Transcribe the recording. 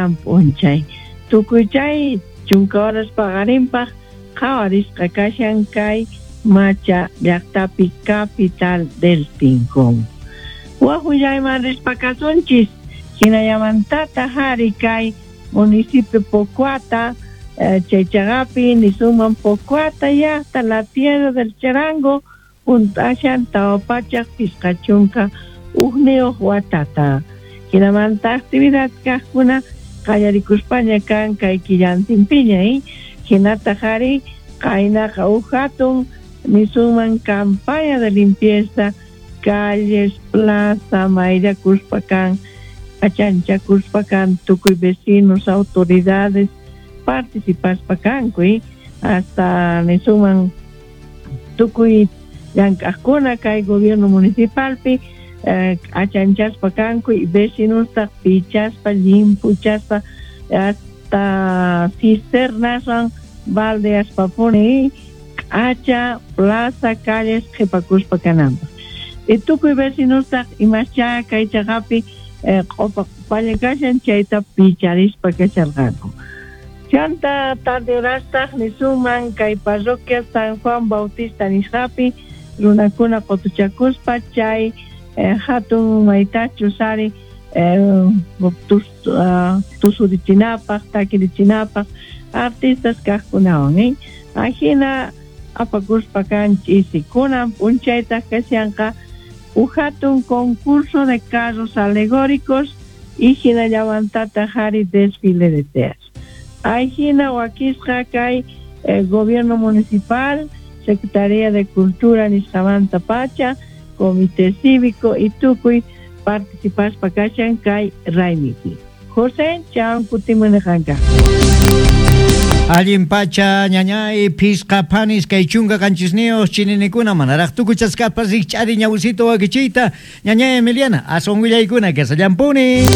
Kunan p'unchay. Tukuy chay 10 horas paqarinpaq qhawarisqa kashan kay Macha llaqtapi, capital del Tinkun. Wak willayman rispa kasunchis, hinallamantataq ari kay municipio Pocoata, chay chaqapi nisunman Pocoata llaqta, la tierra del charango, hunt'ashan 451 watata. Hinamanta actividad kaqkuna qallarikuspaña kan kay killantinpiña, hinataq ari qaynaqa huk hatun nisunman campaña de limpieza calles, plaza, mayllakuspa kan, achanchakuspa kan, tukuy vecinos, autoridades participaspa kanku, hasta nisunman tukuy llank'aqkuna kay gobierno municipalpi achanchaspa kanku y vecinostaq pichaspa, llimpuchaspa, hasta cisternaswan baldeaspapuni k'acha plaza, calles qhipakuspa kananpaq. Y tukuy vecinostaq imascha kay chaqapi q'upa q'upalla kashan chayta picharispa kasharqanku. Chanta tarde horastaq nisunman kay parroquia San Juan Bautista nisqapi runakuna qutuchakuspa chay hatun maytachus ari tusurichinapaq, takirichinapaq artistas kaqkunawan, Ajina apakuspa kan ch'isi. Kunan p'unchaytaq kashanqa huk hatun concurso de carros alegóricos y hinallamantataq ari desfile de teas. Ajina wakisqa kay gobierno municipal, Secretaría de Cultura nisqamanta pacha, Comité Cívico y tukuy participaspa kashan kay raymipi. José, chawan kutimuniqanka. Allin pacha ñañay phisqa phanis kay 17 chininikuna manaraq tukuchasqapas rikch'ari ñawsito wakichiyta ñañay Emiliana aswan willaykuna kasallampuni.